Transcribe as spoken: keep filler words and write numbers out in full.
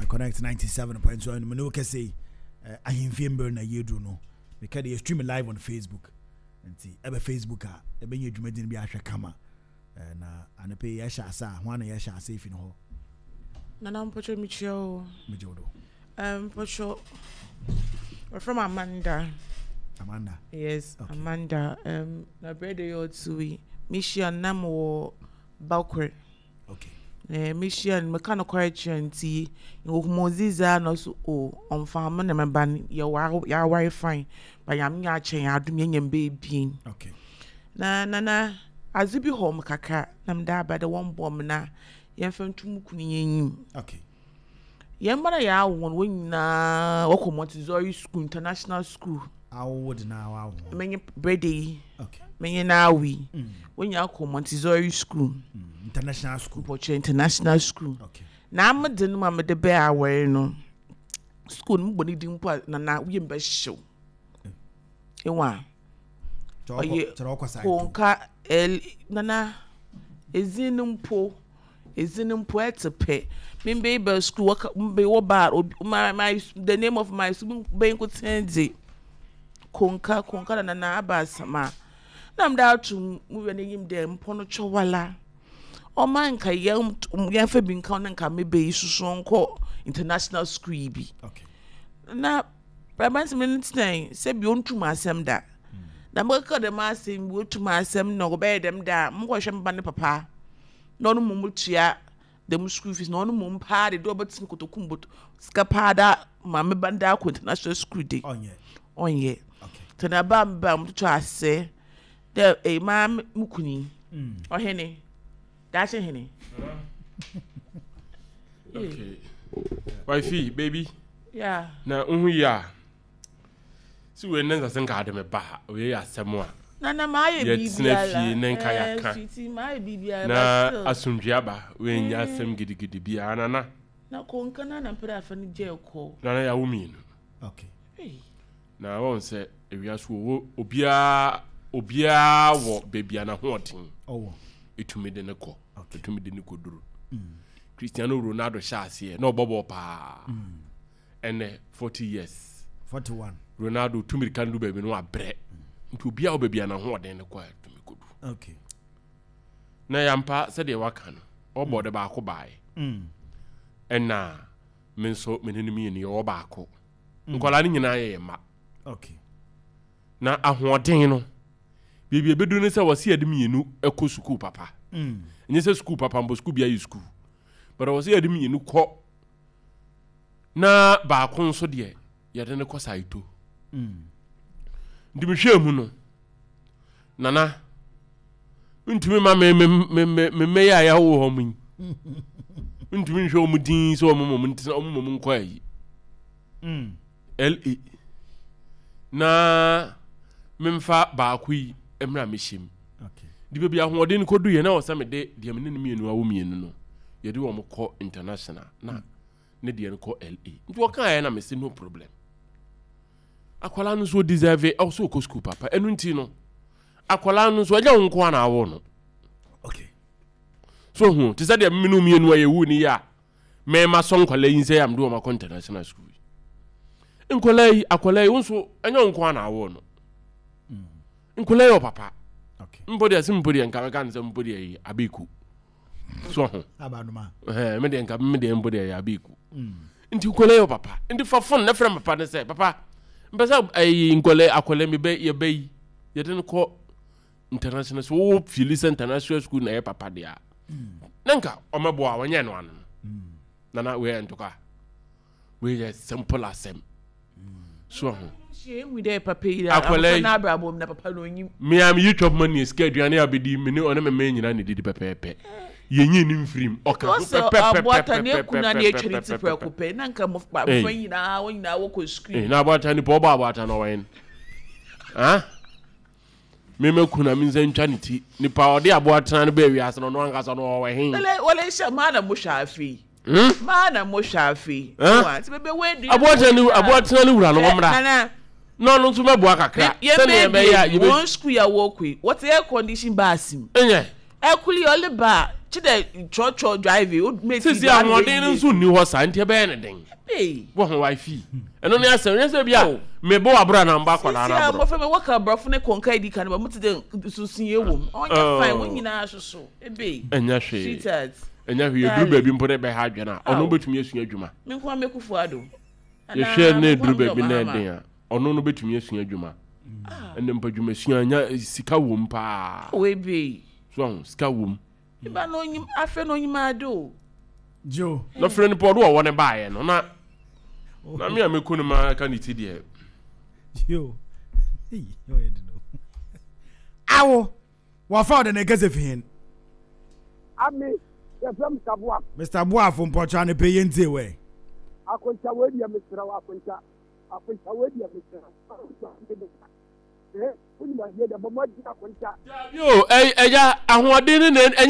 Connect ninety-seven point one mu ne wokɛsɛ yi ahemfie mber na yɛduru no. Meka de yɛ stream live on Facebook, nti ɛbɛ Facebook a ɛbɛnya dwumadin bi ahwɛ kama. Na anɔpɛ yi yɛhyɛ ase a ho ana yɛhyɛ ase fi no hɔ. Nana, mpɔtɔ mekyia o. Megye wo do. Um, mpɔtɔ wɔfrɛ m Amanda. Amanda. Yes. Okay. Amanda. Um, na berɛ de yɛ ɔto yi mehyia nam wɔ bakor. Okay. Eh, mehyia no, meka no kɔrɛ kyerɛ, nti nhumoziza na so o ɔmfa mo na meba no yɛwɔ yɛaware fine, ba Nyame nyɛ akyɛ yɛn adom yɛnya mba ebien. Okay. Na nana, adze bi hɔ m kakra na mede aba dɛ wɔmbɔ m na yɛmfa nto mu kunu yɛnyim. Okay. Yɛn mba na yɛawo wɔn, wɔn nyinaa wɔkɔ Montessori school, international school. Awo de na awo. Menye brɛde yi. Okay. Menye n'awo yi. Mm. Wɔn nyinaa kɔ Montessori school. Mm. International school. Mpɔkyerɛ international school. Okay. Na amede no ma mede bɛɛ awɔre no, school no mobɔ ne din mpo a, nana, woyɛ mbɛhyew ewa. Ɔyɛ kyerɛ ɔkɔ side. Konka el nana, ezin no mpo ezin no mpo ɛte pɛ. Membe ba school wɔka mbe wɔ obi my my the name of my school bɛyi nkotsee dze konka konka na nana aba asɛm a na mede ato mu wura n'enyim dɛ mpɔ no twɛwala ɔma nka yɛn yɛmfa bi nka na nka mebe yi soso nkɔ international school yi bi. Okay. Na aberanteɛ no tena sɛbi ɔntum asɛm da na mekeka dɛm asɛm bi, otum asɛm na ɔbɛyɛ dɛm da a mokɔhwɛ mba ne papa na ɔno mmom tua dɛm school fees, na ɔno mmom paa de de ɔbɛtena kotoku mu sika paa da ma meba da akɔ international school de. Ɔnyɛ. Ɔnyɛ. Okay. Nti na ba mba mototo ase dɛ ɛyi maa me kuni. Mm. Ɔhene daakye hene. Okay. Wifey, baby. Yeah. Na nhu yi a. Si wei ne nsase nka ade me ba ha. Wei yɛ asɛm a. Nana, maa yɛ Yɛtena biribiara. fie ne nka yɛaka. Sweetie, maa yɛ biribiara. Na But still. asomdwe aba. Wei nyɛ asɛm gidigidi biara, nana. Na konka na na mpere afa no gye kɔ. Nana, yɛawo mmienu. Okay. Hey. Na wɔn sɛ ewiase wɔ obiara obiara wɔ baabi a n'ahoɔden Ɔwɔ. etumi de ne kɔ. Okay. Etumi de ne kɔ duro. Mm. Cristiano Ronaldo hyɛ aseɛ na ɔbɔ bɔɔl paa. Mm. Ɛnɛ forty years. Forty-one. Ronaldo tumi ka no do baabi no wabrɛ. Nti obiara wɔ baabi a n'ahoɔden ne kɔ a etumi kɔ duro. Okay. Na yampa sɛdeɛ waka no, ɔbɔ de baako baeɛ. Mm. Ɛna me nso me ne no mmienu yɛwɔ baako. Nkwadaa no nyinaa yɛ yɛn mma. Okay. Na ahoɔden no, biribi ebedu ne sɛ wɔsi yɛde mmienu kɔ sukuu papa. Mm. Nyɛ sɛ sukuu papa mpo, sukuu bi ayɛ sukuu, but wɔsi yɛde mmienu kɔ na baako nso deɛ yɛde no kɔ saito. Mm. Nti mehwɛ mu no, nana, ntumi ma me me me me me mmɛyɛ a yɛawo hɔ mu yi, ntumi nhwɛ wɔn din sɛ wɔn mɔm ntena wɔn mɔm nkɔ ayi. Mm. La na memfa baako yi mmerɛ a mehyɛ mu. Okay. De baabi ahoɔden no kɔdu yɛ na wɔ sɛ mede deɛ mene no mmienu awo mmienu no yɛde wɔn kɔ international na ne deɛ no kɔ La. Nti wɔkaeɛ na mese no problem, akwalaa no nso deserve ɛwɔ sɛ ɔkɔ school papa. Ɛno nti no akwalaa no nso ɛnyɛ wo nko a na awo no. Okay. So hu te sɛ deɛ mene mmienu a yɛwu ne yɛ a mɛma sɔ nkwalaa yi nsɛ yɛ a mede wɔn akɔ international school yi, nkwalaa yi, akwalaa yi wo nso ɛnyɛ wo nko a na awo no. Nkwalaa yi wɔ papa. Okay. Mpo deɛ sɛ mpo deɛ nka mɛka no sɛ mpo deɛ yɛ abeeku so ho. Abanoma. Ɛhɛn, me deɛ nka me deɛ mpo deɛ yɛ abeeku. Mm. Nti nkwalaa yi wɔ papa, nti fa phone na frɛ papa ne sɛ papa mpɛ sɛ ɛyi nkwalaa akwalaa mi bɛ yɛbɛ yi yɛde no kɔ international so wo feel sɛ international school na ɛyɛ papa deɛ a na nka ɔmɛboa wɔnyɛ no ano no. Mm. Nana, wei yɛ ntɔkwa, wei yɛ simple asɛm so ho. Hyɛ ehu dɛ papa yi Akwadaa yi. na abrabɔ mu na papa no onyim. Mmea mi yi twɛ poma ne sika aduane a bɛdi me ne ɔne me mma nyinaa ne didi pɛpɛɛpɛ, yɛnyi ne mfirim ɔka ho. Ɔsɛ aboata ne ekuna ne etwa ne ti pɛpɛɛpɛpɛpɛpɛpɛ. Prɛko pɛ na nka mmɔfra Ei. mmɔfra nyinaa wɔn nyinaa wɔkɔ sukuu. Eh, na aboata nipa ɔbɔ aboata na ɔwɛn ah mema kuna me nsa ntwa ne ti, nipa ɔde aboatena no bɛɛ wiase no, ɔno ankasa no ɔwɔ he? Wɔlɛ wɔlɛ hyɛ maa na mo hwɛ afei. Hmm? Maa na mo hwɛ afei. Eh? Wa nti bebe wo edu. Aboatena ne aboatena ne wura no wɔmmra Nana. Na ɔno nso mɛboa kakra yɛn sɛnea ɛbɛyɛ a bɛɛ yɛbɛ wɔn sukuu yɛ wɔkɔ yi, wɔte air condition bus mu. Ɛnyɛ. Ɛkuli ɔle ba Kyi dɛ trɔtrɔ driving o mate. Sisi ahoɔden no nso nni hɔ saa, nti ɛbɛyɛ ne den. Hey. Wɔ ho wifi ɛno ne asɛm nyɛ sɛ bi a mebɔ waboro anaa mbɔ akwadaa no Sisi a aborɔ. mmɔfra mi wɔka aborɔfo ne kɔnka edi kan ba mo ti dɛ nsunsunyɛ wɔ mu. Ɔnyɛ Oh. fine wɔn nyinaa soso ebe. Ɛnyɛ hwee. Sweetheart. Ɛnyɛ hwee, ɛduru baabi mpo ne bɛha adwene a, ɔno bɛtumi asua adwuma. Mi nkwa mekufu ado. Yɛhwɛ ne ɛduru baabi na ɛden a, ɔno no bɛtumi asua adwuma. Ɛnna mpa adwumasua nya sika wɔ mu paa. O ebe. So ahu sika wɔ mu. Iba na onyim afɛ na onyim ade o. Joe. Na frɛ no pɔ ɔdo ɔwɔ ne baayɛ no na na me a mɛku no ma ka ne ti deɛ. Joe. Hey, ɔyɛ de no. Awo. Wɔfa ɔde ne kɛsɛ fi hin. Ami, yɛfrɛ Mister Boafo. Mister Boafo, mpɔtɔ ne pɛ yɛn tie wɛ. Akonta, wei deɛ mesrɛ wo, Akonta. Akonta, wei deɛ mesrɛ wo. Eh, wonim adeɛ deɛ bɔ mmɔden, Akonta. Yo, ɛyà ahoɔden ne na ɛnyɛ.